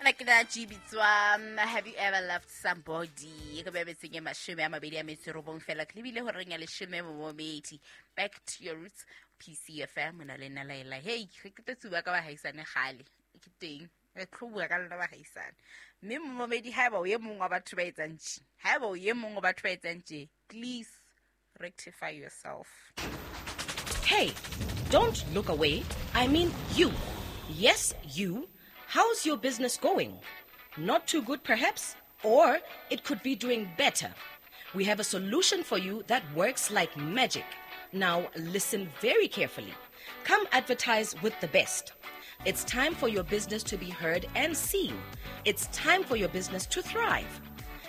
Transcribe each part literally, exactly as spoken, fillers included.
Ke na bitswa Have You Ever Loved Somebody? Ke be betseng e mashome a mabedi a metso e robong fela ke lebile horeng ya leshome momedi. Back to your roots, P C F M na le nna Laela. Hey, re ke tlo bua ka bahaisane kgale. Ke teng re tlo bua ka lona bahaisane. Mme momedi haeba o ye mong wa batho ba etsang tje, haeba o ye mong wa batho ba etsang tje, please rectify yourself. Hey, don't look away. I mean you. Yes, you. How's your business going? Not too good, perhaps? Or it could be doing better. We have a solution for you that works like magic. Now, listen very carefully. Come advertise with the best. It's time for your business to be heard and seen. It's time for your business to thrive.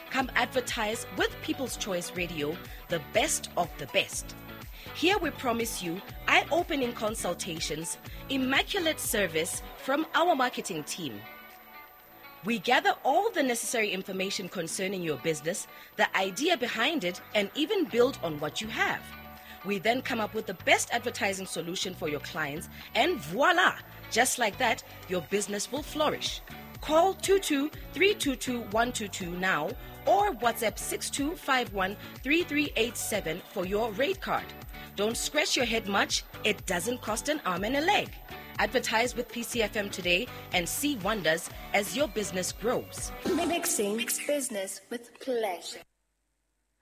Come advertise with People's Choice Radio, the best of the best. Here we promise you eye-opening consultations, immaculate service from our marketing team. We gather all the necessary information concerning your business, the idea behind it, and even build on what you have. We then come up with the best advertising solution for your clients, and voila! Just like that, your business will flourish. Call two two three two two one two two now or WhatsApp six two five one three three eight seven for your rate card. Don't scratch your head much. It doesn't cost an arm and a leg. Advertise with P C F M today and see wonders as your business grows. Mixing business with pleasure.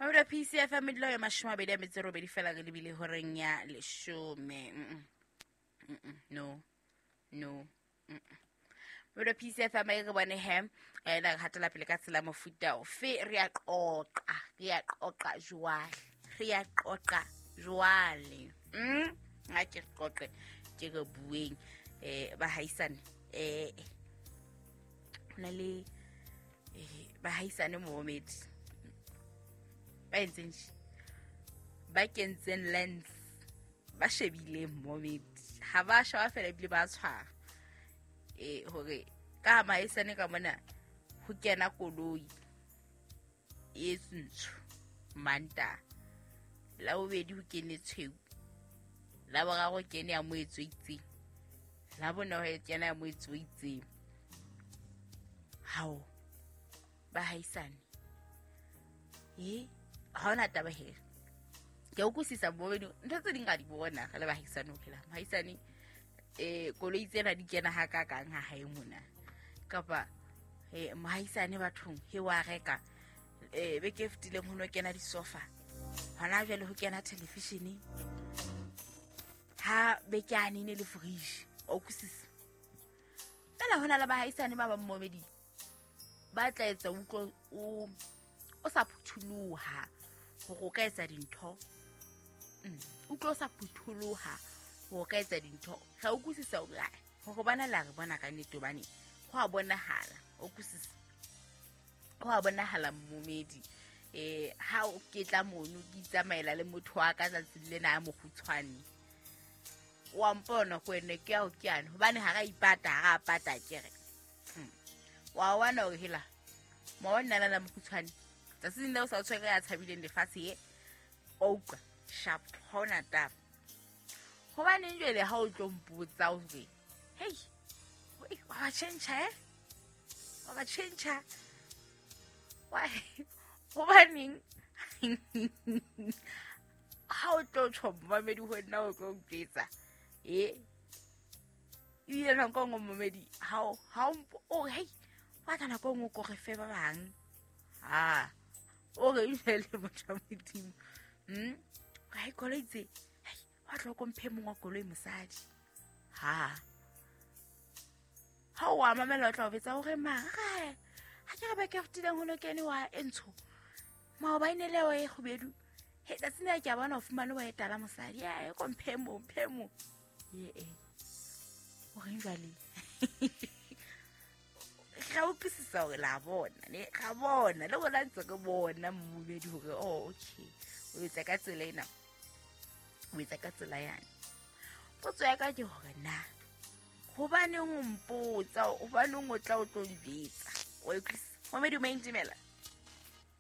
Mabula P C F M dilo ya mashome a mabedi a metso e robedi fela re lebile horeng ya leshome. Mm-mm. No. No. Mm-mm. Mabula P C F M e re bone he ena re hatela pele ka tsela mofuta ofe re a qoqa, re a qoqa jwale. Re a qoqa jwale. Mm ha ke qoqe ke re bueng eh bahaisane eh hona le eh bahaisane momedi ba entseng ba kentseng lens ba shebile momedi ha ba shwa fela ebile ba tshwara eh hore ka mahaisane ka mona ho kena koloi e ntsho manta la bobedi ho kene tshweu la boraro kene ya moetso itseng la bone ho kena ya moetso itseng. Hao bahaisane eh ha ona taba he ke o kusisa bobedi ntho tse ding ga di bona re le bahaisane ho phela mahaisane eh koloi tsena di kena ha ka kang ha hae mona kapa eh mahaisane bathong he wa reka eh beke fetileng ho no kena di sofa hona jwale ho kena television ha beke a nene le fridge o kusisa fela hona le bahaisane ba ba mmomedi ba tla etsa utlwe o o sa phutholoha hore o ka etsa dintho. Utlwe o sa phutholoha hore o ka etsa dintho. Ga o kusisa hore hore bana la re bona ka nnete hobane ho a bonahala o kusisa ho a bonahala mmomedi eh ha o ke tla mono ke itsamaela le motho wa ka tsatsing lena ya mokgutshwane wa mpona go ene ke ao ke ane hobane ha ra ipata ha ra pata ke re wa wana o hela ma wa nna la mokgutshwane tsatsing leo sa tshwere ya tshabileng lefatshe e o utlwa sharp hona taba hobane jwale ha o tlo mpotsa o re hey wa ba change eh wa ba change why hobaneng ha o tlo tjho momedi ho nna o tlo mpetsa eh ile nako nngwe momedi ha ha o hey wa tla nako nngwe ko re fe ba bang ha o re ile le motho wa Modimo mm ga koloi tse hey wa tlo ko mphe mongwe wa koloi mosadi ha ha o a mamela o tla o betsa hore mara ha ke re ba ke fetileng ho no kene wa entsho maobane le wa e kgubedu he tsatsing la ke a bona o fumane wa etala mosadi ya ko mphe mo mphe mo ye e o reng jwale ga o utlwisisa hore la bona ne ga bona le bona ntse ke bona mmobedi hore oh okay o etsa ka tsela ena o etsa ka tsela yane. Potso ya ka ke hore na hobaneng o mpotsa hobaneng o tla o tlo njwetsa o utlwisisa momedi o maintimela.